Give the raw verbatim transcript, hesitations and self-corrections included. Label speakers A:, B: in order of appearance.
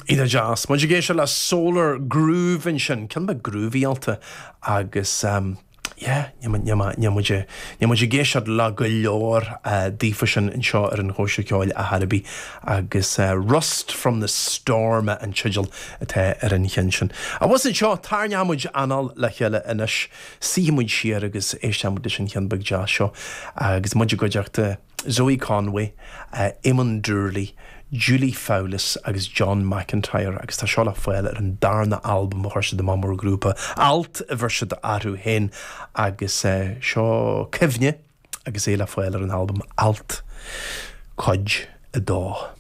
A: Iontach deas. Muid ag éisteacht le Solar Groove ansin, ceann beag groovy-áilte agus um, yeah, níl muid ag éisteacht le go leor uh, daofa sin anseo ar an Chóisir Ceoil a Hairbí agus uh, Rust from the Storm an teideal atá ar an cheann sin. Agus anseo tarraingeoidh muid anáil le chéile anois suífidh muid siar agus éistfidh muid leis an cheann beag deas seo agus muid i gcuideachta Zoe Conway, uh, Eamon Doorley, Julie Fowlis agus John McIntyre agus tá seo le fáil ar an darna albam a chuir siad amach mar ghrúpa Alt a bheir siad orthu féin agus uh, seo cuimhne agus é le fáil ar an albam Alt cuid a dó.